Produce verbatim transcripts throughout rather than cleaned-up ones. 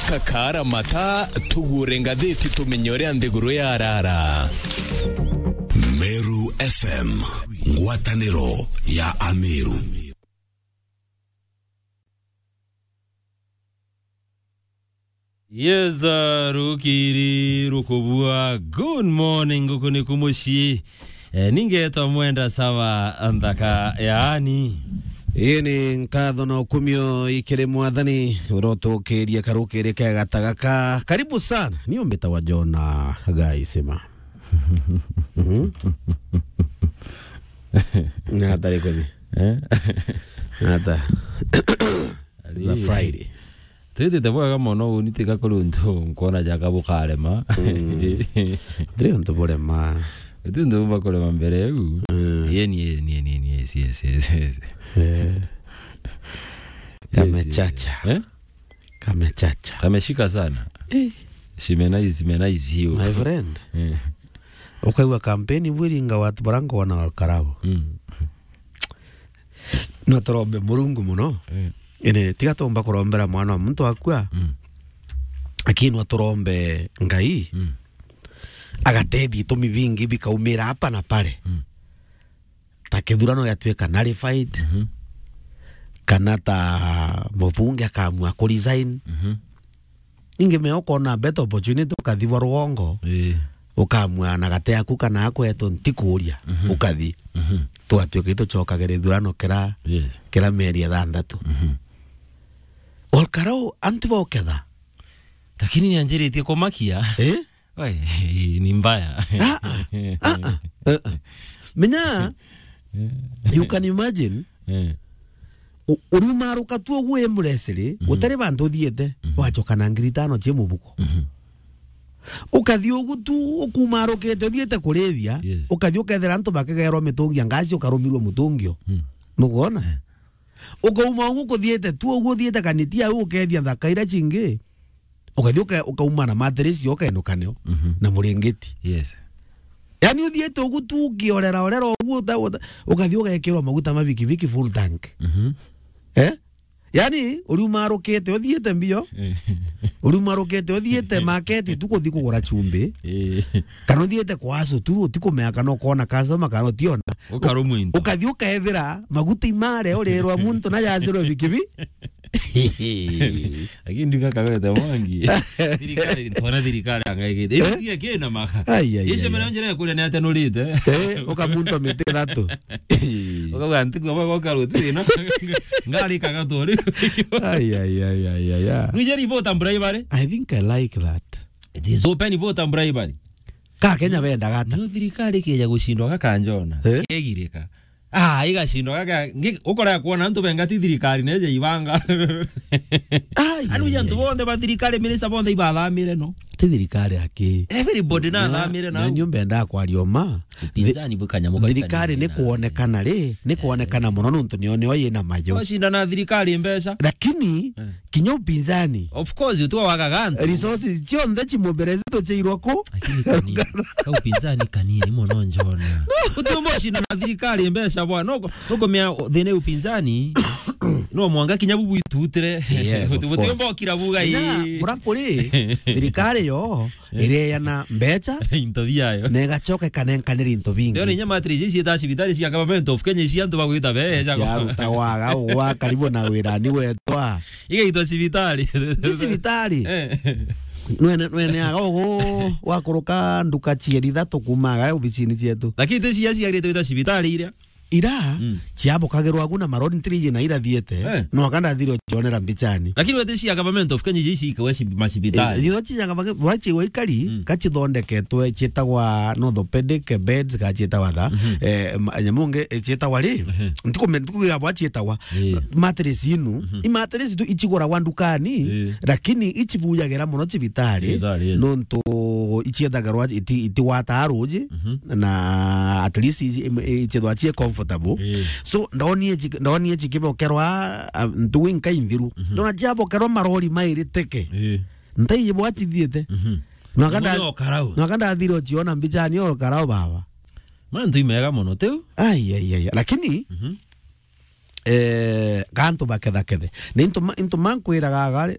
Kakara mata, tugure ngathiti tumenye uria nthiguru yarara. Meru F M, ngwataniro ya Ameru. Yes, uh, rukiri rukubua. Good morning, guku ni kumucii. Eh, ningetwa Mwenda Sava, nthaka yaani. Ii ni nkatho na ukumio ikiri Mwathani, urotukiria karukiri kega ta gaka. Karibu sana. Ni umbita wa Jona Gaisima. Mhm. Na hatari kweli. Eh? Hata. It's a Friday. Twitite bwega mono, uni tiga kuri untu nkwona jaka bukarema. Mm. Tiri untu burema. Uti untu bumba kurema mbere eu. Mm. Yeni, yeni, yeni, yeni, yes, yes, yes, yes. Eh. Yes, yes. Kamechacha. Eh? Kamechacha. Kameshika sana. Eh. Zimenai-, zimenai zio. My friend. Eh. Ukaigua kampeni bwiringa watu barango wana wakarabo. Mm. No turombe Murungu mono. Eh. Ene, tiga tumba kurombera mwana wa muntu akua. Mm. Lakini no turombe Ngai. Mm. Agatethia itumi bingi bikaumira hapa na pale. Mm. Ta kithurano giatuika nullified. Mhm. Kana ta mubunge akamua ku resign. Mhm. Ingi me ukona better opportunity ukathi bwa rugongo. Ii. Ukamua na gate yaku kana akwetwo ntikuria, mhm, ukathi. Mhm. Twatuika itucokagira ithurano kira, yes, kira mieri ithanthatu. Mhm. Olkarau antu boketha. Lakini ni anjiritie kumakia. Eh? Wai, ni mbaya. Ah, ah. Ah, ah. Ah, ah. Menya, you can imagine, eh, u-, uriumaruka tu uguo wi muresiri, mhm, gutari bantu uthiite, mhm, wacoka na ngiri itano cia mubuko. Mhm. Ukathi ugu tu, ukumarukite, uthiite kurithia, yes, ukathi ukethira antu bakigerwa mitungi ya ngasi, ukarumirwa mutungio. Mm. Nukwona? Eh. Ukauma ugu kuthiite tu, ugu uthiite kanitia, au ukethia nthaka ira cingi. Ukathi uka-, ukauma na mattress yo ukainukania, mhm, na muringiti. Yes. Yani uthiite ugu tu ukiorera orera ugu uta-, uta-, ukathi ugekirwa maguta ma bikibiki full tank. Mhm. Eh? Yani uriumarukite uthiite mbio. Eh. Uriumarukite uthiite market tu kuthi kugura chumbi. Eh. Kana uthiite kwa asu tu utikumea kana ukona customer kana utiona. Ukarumwa into. Ukathi ukethira maguta imare urirwa muntu na yacirwe bikibi. Lakini ndika kawete mwangi. Thirikari, ntwara thirikari angaigite. Eh? Itiga kina maka. Ai, ai, ai, ai. Icio mena njira ya kuria ni atenurite. Eh, ukamunta miti ithatu. Ukauga ntiku aba goka ruti thina. Ngari kagatori. Ai, ai, ai, ai, ai, ai. Nije ribota mbura ibare. I think I like that. It is open vote and bribery. Ka Kenya bendaga ata? Niyo thirikari ikeja gucindwa gakanjona. Eh? Kegirika. Ah, igacindwa gaka, ngi-, ukora kwona antu benga ti thirikari neje ibanga. Ai, anu ai, antu ai, bonthe ba thirikari, minister bonthe ibathamire no. Ti thirikari aki. Everybody na, nathamire na na. Nyumba enda kwaria uma. Upinzani bukanya muka. Thirikari ni kuonekana ri, ni kuonekana muno nontu niyo, niyo yina mayo. Wacinda na thirikari mbeca. Lakini, eh, kinya upinzani. Of course, utua wagaga antu. Resources cionthe cimubere zituciirwa ku? Lakini kanini. Ka upinzani kanini mono njona. Utiumba ucinda na thirikari mbeca bwana. Nuko, nuko mea thina upinzani. No mwanga kinya bubu itutire. Yes, of course. Utiumba ukira buga ii. Ina, mura kuri, thirikari yo, eh, ireana mbeca, into biayo, na igacoka ikanenkanira into bingi. Ndio ni nyama atiri ici ciita cibitari cia government of Kenya, ici antu bagwita beja. Ciarutagwa ga ugwa karibu na wirani wetwa. Igaitwa cibitari. Ti cibitari. Eh. Nwene, nwene aga ugu wakuruka nduka cieri ithatu kuuma aga obicini cietu. Lakini ti cia ciarite gwita cibitari iria. Ira, mm, ciabokagirwa agu na marori ntiri iji na irathiete, eh, no aka ndathire ucionera mbicani. Lakini wete cia government of Kenya iji ikawe ci-, macibitari. Eh, itho cia government, wa ciwa ikari, mm, ka cithondeketwe cietagwa orthopedic beds, ka cietagwa tha, mhm, eh, ma-, nyamu nge, eh, cietagwa ri? Mhm. Ntikumenya, ntikumenya bwa cietagwa. Eh. Mattress inu, mhm, i mattress tu iciguragwa ndukani, eh, lakini icibujagira muno cibitari, cibitari, yes, nontu iciethagirwa iti-, itigwataa ruji, mhm, na at least ici-, im-, ichethwa chie comfortable. Eh. So, ndonire chi-, ndonire chikibokerwa, ah, ntugu inka inthiru. Mhm. Ndona chiabokerwa marori mairi teke. Eh. Ntai ibwatithiete. Mhm. Nontu nda-, nontu ndathire uchiona mbichani o karao baba. Mantu imega mono, tiu? Ai, ai, ai. Lakini, mhm, eh, gantu bakethakethe. Na into ma-, into mankwiraga gari,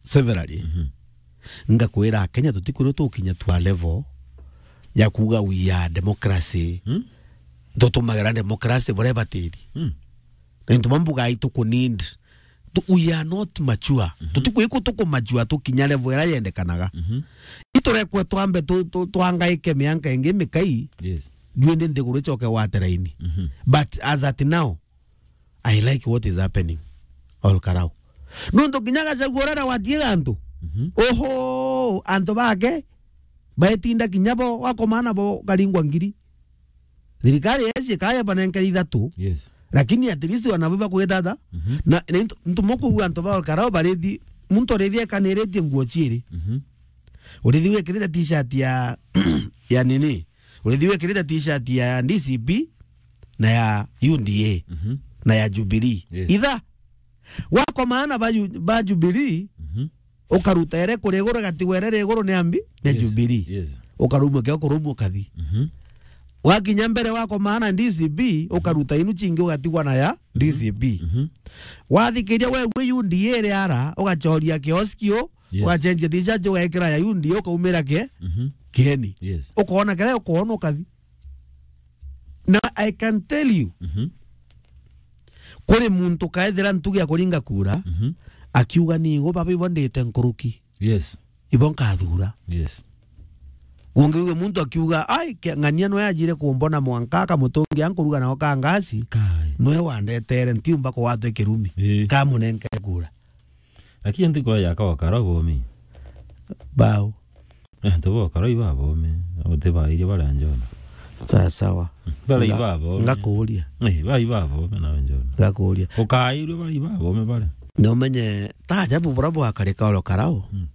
severally. Mhm. Ngakwira Kenya tutikwirwo tukinya to a level ya kuuga we are democracy. Hmm? Tutumagira democracy buria ibatiri. Hmm. Na into mambuga itu ku need. Tu-, we are not mature. Mhm. Tutikwikwo tuku mature tukinya level iria yendekanaga. Mhm. Iturekwe twambe tu-, tu-, twangaike mianka ingi mikai. Yes. Juu indi nthiguru icoke gwate raini. Mhm. But as at now, I like what is happening. Ol Karau. Nontu kinya Gachagua uria watie gantu. Mhm. Oho, antu bake, baetinda kinya bo, wakomana bo karingwa ngiri. Thirikari yesi kaya banenkere ithatu. Yes. Lakini at least wanabo bakwitata. Mhm. Na, na ntu-, ntumo kugua antu ba Ol Karau barithi, muntu arithi ekaniritie nguo ciiri. Mhm. Urithi wikirite t-shirt ya, ya nini? Urithi wikirite t-shirt ya D C P na ya U D A, mhm, na ya Jubilee. Yes. Itha, wakomana ba Ju-, ba Jubilee, mhm, ukaruta ere kuri iguru, gatigwa ere ri iguru ni ambi, ni, yes, Jubilee. Yes. Ukarumwa kio kurumwa ukathi. Mhm. Wakinya mbere wakomana D C P, ukaruta inu cingi ugatigwa na ya D C P. Mhm. Wathikiria we gwi U D A ri ara, ugachoria kioski u, yes, ugacenjia t-shirt, ugekira ya U D A, ukaumira ke-, mhm, kieni. Yes. Ukoona kiria ukoona ukathi. Na I can tell you, mhm, kuri muntu kaethira ntugi ya kuringa kura, mhm, akiuga, "Ni igo baba ibo ndite nkuruki. Yes. Ibo nkathura." Yes. Ungi uge muntu akiuga, "Ai, ke-, ng'ania nwe ajire kumbona mwanka akamutungia nkuruga nao ka ngasi." Kai. Nwe wandetere, ntiumba kuwatwe kirumi. Ii. Kamunenkere kura. Lakini ntikwa yaka wakara bomi. Bao. Eh, antu ba Ol Karau ibabomi, uti bairie baria Njona. Sawa, sawa. Baria ibabomi. Nga-, ngakuuria. Eh, baria ibabomi nawe Njona. Ngakuuria. Ukairwe baria ibabomi baria. Na umenye, ta ajabu buria bwakarika Ol Karau. Mm.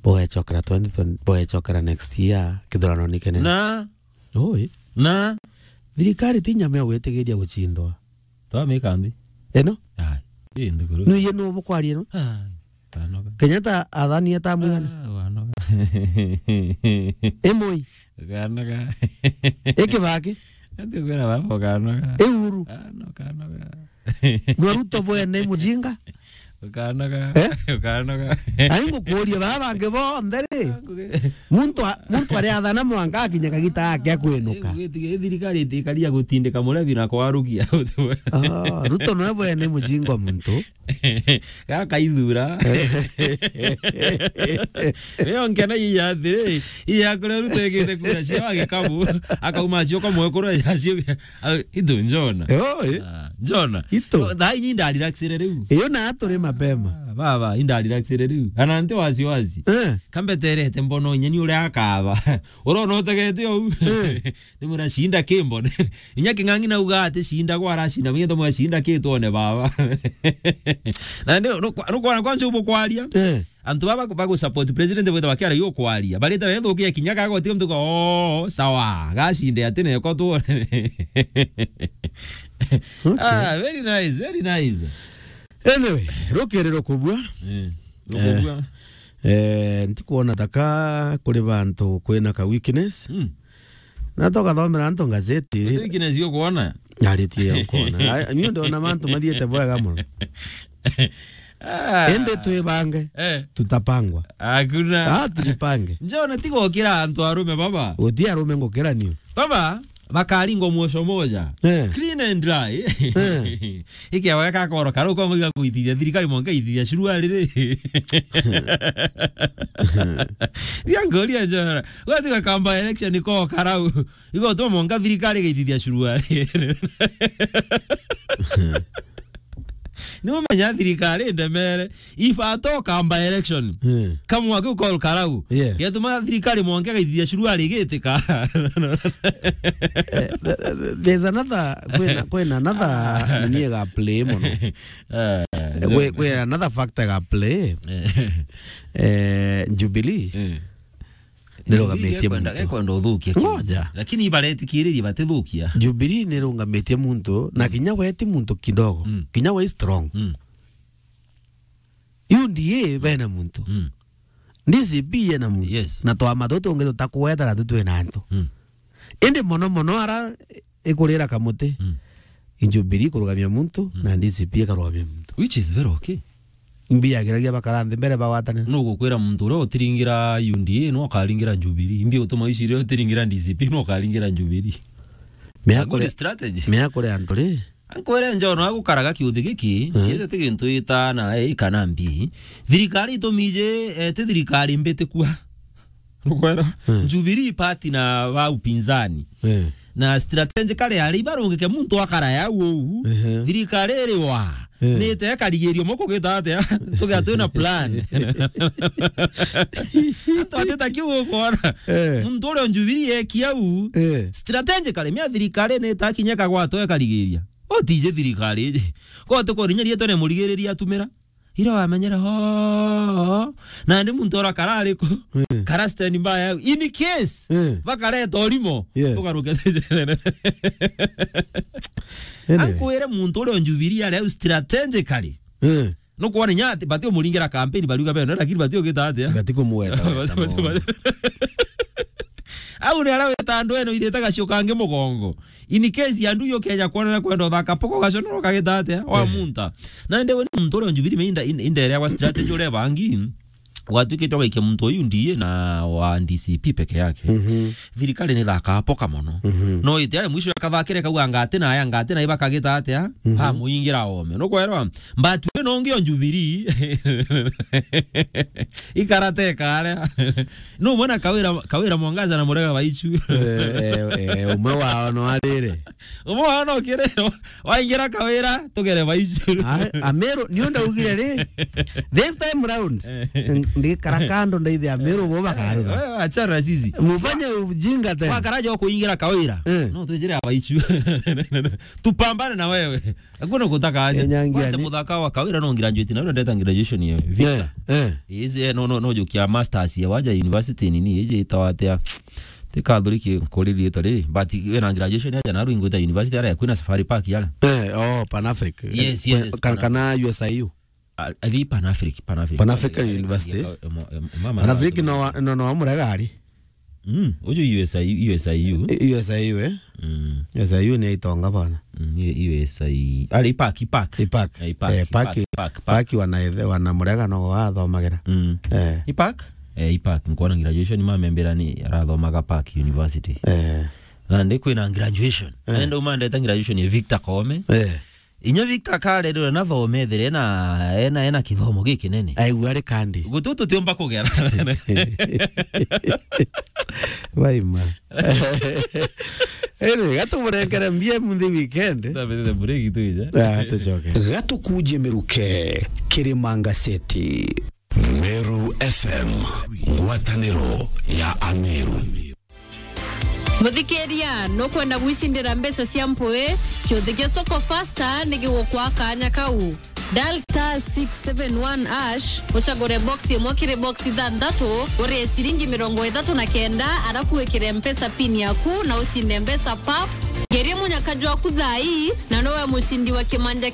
Bugecokera twenty twenty, bugecokera next year, kithurano ni kinene. Na? Oi. Na? Thirikari ti nyama ya gwitigiria gucindwa. Twamika nthi. Ino? Ai, ii nthiguru. Nwiye nu bukwaria ino? Ai, wanoga. Kenyatta athanie ta mwigana? Ah, wanoga. Imoi? Ukanoga. Ikibaki? Ati kwira baba ukanoga. Iuru? Ah, no, ukanoga. Nwa Ruto bwene mujinga? Ukanoga. Eh? Ukanoga. Ai ngukuuria baba bangi bonthe ri? Muntu a-, muntu ariathana mwanka akinya kagita gake akwinuka. Ii, thirikari itikaria gutindika murebi na kwarukia. Ah, Ruto nwe bwene mujingwa muntu. Gaka ithura. Rio nkena iya atiri, iya kuria Ruto egite kura cio agikabu, akauma acio kwa mwekuru acio. Ah, itu Njona. Oi. Ah, Njona. Itu. Thaa inyi ndarelaxire riu. Iyo na turi mapema. Ah, baba, indarelaxire riu. Ana nti wasiwasi. Eh. Kambeterete mbono inya ni uria akaba. Urona utegete ou. Eh. Ni mura shinda kimbo. Inya King'ang'i nauga ati shinda kwa arashinda. Mwenye tomo shinda kitwone baba. Na ndio, rukwa-, rukwana kwanza ubu kwaria. Eh. Antu baba bagu support president bwita bakiara yo kwaria. Barita bethukia kinya gago tiga mtuka, "Oh, sawa. Gashinde ati neko tuone." Okay. Ah, very nice, very nice. Anyway, rukiri rukubua. Eh, rukubua. Eh, eh, ntikuona taka kuri bantu kwina ka weakness. Mm. Na tukathomera antu ngazeti. Ati weakness yo kuona? Aritie ya kuona. Ai, ni ndo na mantu mathiete bwega muno. Ah. Ende twibange. Eh. Tutapangwa. Hakuna. Ah, tujipange. Njona tiga ukira antu arume baba. Uti arume ngukira niu. Baba, bakaringwa mwoco moja. Eh. Clean and dry. Eh. Ikia wega kakoro karu kwa ngiga kuithithia thirikari mwanka ithithia shuru ariri. Ria ngoria Njona. Wati gakamba election ko karau. Igo tuma mwanka thirikari gaithithia shuru ariri. Ni umenya thirikari ndemere. If at all kamba election. Hmm. Kamwa kiu Ol Karau. Yeah. Yatuma thirikari mwanka gaithithia shuru arigitika. Eh, th-, th-, there's another, kwina, kwina another nini ga play muno. Eh, kwi, kwi another factor ga play. Eh. Eh, Jubilee. Eh. Nirugamitie Jubilee ekwenda, muntu. Ekwenda uthukia kiu. Ngoja. Lakini ibaretikiririe batithukia. Jubilee nirungamitie muntu, na kinya we ti muntu kidogo. Mm. Kinya we strong. Mm. U D A bena muntu. Mm. D C P yena muntu. Yes. Na twama tutu tungi tutakweta na tutwina antu. Mm. Indi mono mono ara ikurira kamuti. Mm. Jubilee kurugamia muntu, mm, na D C P ikarugamia muntu. Which is very okay. Mbia giragia bakara nthi mbere bagwatanire. Nugukwira muntu uria utiringira U D A no ukaringira Jubilee. Imbi utuma icio iria utiringira D C P no ukaringira Jubilee. Mea A good kure-, strategy. Mea kure antu ri? Ankwire njono agukaraga kiuthi giki, mm, ciecete gintu ita na A kana mbi. Thirikari itumije, eh, ti thirikari mbitiku. Nukwera? Mm. Jubilee party na ba upinzani. Mm. Na strategically ari ibarungike muntu akara ya uu. Ehe. Thirikari iri wa. Mm. Ni ite karigirio moko gita atia? Tugia twina plan. Antu atita kiu ukwona. Eh. Muntu uria Jubilee ekia uu. Eh. Strategically, mia thirikari ni ita kinya kagwato ekarigiria. Utije thirikari iji. Ko tukorinya rietwa ni murigiriria atumira. Ira wamenyera ho. Nandi muntu ora kara ariku. Mm. Kara stand by yau. In case, mm, bakareta urimo. Yes. Tugaruke. Anyway. Ankwire muntu uria Jubilee ari au strategically. Mm. Nukwona inya ati, bati umuringira campaign bariuga beno, lakini bati ugita atia? Bati kumweta, weta. Au ni aria weta andu eno ithite gacio kangi mugongo. In case andu yo keja kwonera kwenda uthaka poko gacio no kagita atia? Wa, eh, munta. Na ndewe ni muntu uria Jubilee meinda in-, inderewa strategy uria bangi. Gwatuikite ugaikia muntu uyu U D A na wa D C P peke yake. Mhm. Thirikari ni thaka poka mono. Mhm. No ite ayo mwisho akathakire kauga ngati na aya ngati na ibakagita atia? Mhm. Ha muingira ome. Nukwerwa? Mbatu ino ngi o Jubilee. Ikarate kare. No mwana Kawira, Kawira Mwangaza na Murega Baichu. Eh, eh, eh, umwe wao no arire. Umwe wao no kire. Waingira Kawira, tugere Baichu. A, Ameru, ni unda ugire ri. This time round, eh, ndikara kando ndaithe Ameru bo bakarutha. Wewe achana sisi. Mufanye ujinga tena. Wakaraja kuingira Kawira. Eh. No tujire Baichu. Tupambane na wewe. Hakuna kutaka aje. Eh, nyangi. Wacha ani. Muthaka wa Kawira no graduate na ura ndeta graduation ya Victor. Eh, eh. Izi, eh, no, no, no jokia masters ya waja university nini, ije itawatea. Tikathuriki nkuriri itwa ri, but wina graduation aja na ru ingwita university ara kwina Safari Park yara. Eh, oh, Pan Africa. Yes, yes, Pan-, kana U S I U. A, athi Pan Africa, Pan Africa. Pan African University. Pan Africa no wa, no, no wa Murega ari. Mm, uju U S I U, U S I U. U S I U, eh? Mm. U S I U ni itonga bana. Mm, U S I U. Ari Park, Park. Park. Eh, Park, Park, Park, Park. Park wana ethe, wana Murega no wathomagira. Mm. Eh. Park? Eh, Park. Nkona graduation mamembera ni arathomaga Park University. Eh. Na ndi kwina graduation. Eh. Enda umandeta graduation ya Victor Koome. Eh. Inya Victor akarererwa na thome ethire ena, ena, ena kithomo gikinene. Aigua ari kandi. Gutu tutiumba kugera. Baima. Ere, gatumurengere mbia muthi weekend. Tabete break tuija. Ah, tucoke. Gatukuje miruke, Kirimanga City. Meru F M, ngwataniro ya Ameru. Muthikiria, nukwenda gwicindira mbeca cia mpui? Kiuthi kia Soko Fasta ni gigukwa kanya kau. Dial star six seven one hash, ucagure box imwe kiri box ithanthatu, urie ciringi mirongo ithatu na kenda, arafu wikire Mpesa pin yaku na ucinde mbeca pap. Geria munyaka jwaku thaa ii, na nowe mucindi wa kimanja